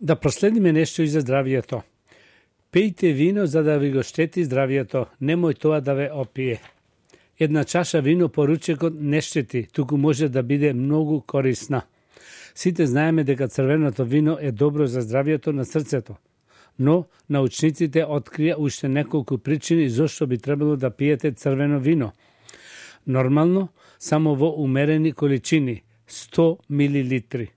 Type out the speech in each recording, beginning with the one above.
Да проследиме нешто и за здравието. Пијте вино за да ви го штети здравието, немој тоа да ве опие. Една чаша вино по ручекот не штети, туку може да биде многу корисна. Сите знаеме дека црвеното вино е добро за здравието на срцето, но научниците открија уште неколку причини зошто би требало да пиете црвено вино. Нормално, само во умерени количини, 100 мл.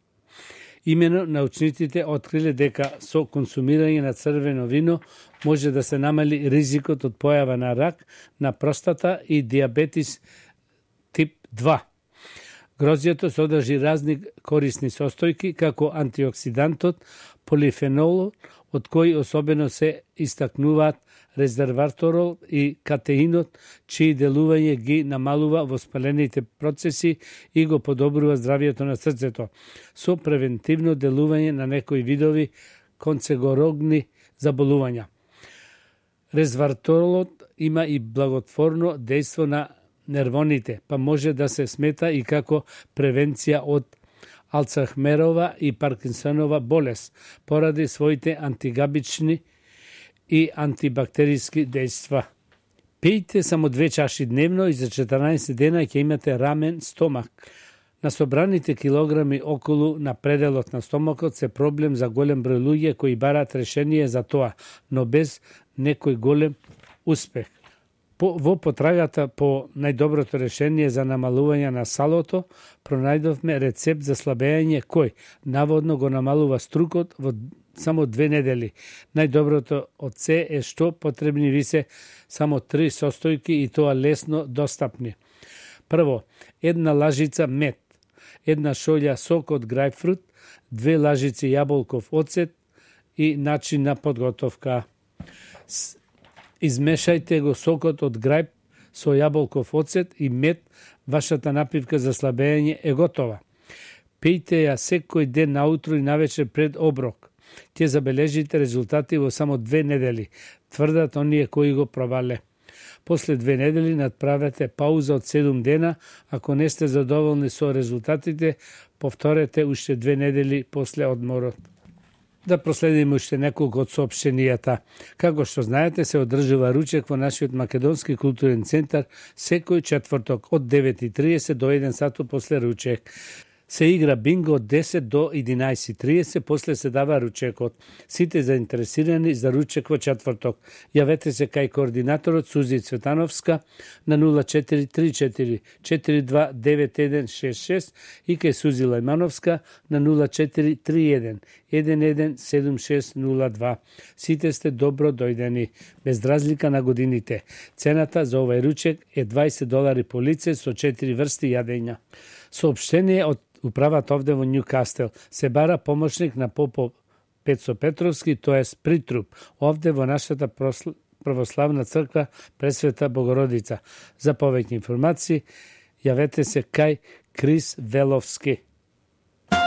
Имено научниците откриле дека со консумирање на црвено вино може да се намали ризикот од појава на рак на простата и диабетис тип 2. Грозјето содржи разни корисни состојки, како антиоксидантот, полифенол, од кои особено се истакнуваат резерваторол и катеинот, чии делување ги намалува воспалените процеси и го подобрува здравието на срцето, со превентивно делување на некои видови канцерогени заболувања. Резерваторолот има и благотворно дејство на нервоните, па може да се смета и како превенција од Алцхаймерова и Паркинсонова болест, поради своите антигабични и антибактериски дејства. Пијте само 2 чаши дневно и за 14 дена ќе имате рамен стомак. На собраните килограми околу на пределот на стомакот се проблем за голем број луѓе кои бараат решение за тоа, но без некој голем успех. Во потрагата по најдоброто решение за намалување на салото, пронајдовме рецепт за слабење кој наводно го намалува струкот во само 2 недели. Најдоброто од се е што потребни ви се само 3 состојки и тоа лесно достапни. Прво, 1 лажица мед, 1 шолја сок од грајпфрут, 2 лажици јаболков оцет и начин на подготовка. Измешајте го сокот од грајп со јаболков оцет и мед, вашата напивка за слабење е готова. Пијте ја секој ден наутро и навечер пред оброк. Ќе забележите резултати во само 2 недели, тврдат оние кои го пробале. После 2 недели надправете пауза од 7 дена, ако не сте задоволни со резултатите, повторете уште 2 недели после одморот. Да проследиме уште неколку од соопштенијата. Како што знаете, се одржува ручек во нашиот Македонски културен центар секој четврток од 9:30 до 1 сату после ручек. Се игра бинго од 10 до 11:30, после се дава ручекот. Сите заинтересирани за ручек во четврток, јавете се кај координаторот Сузи Цветановска на 0434 429166 и кај Сузи Лајмановска на 0431 117602. Сите сте добро дојдени, без разлика на годините. Цената за овај ручек е $20 по лице со 4 врсти јадења. Соопштение од управата овде во Њукастел. Се бара помошник на попов Пецо Петровски, тоест притруп, овде во нашата православна црква Пресвета Богородица. За повеќе информации, јавете се кај Крис Веловски.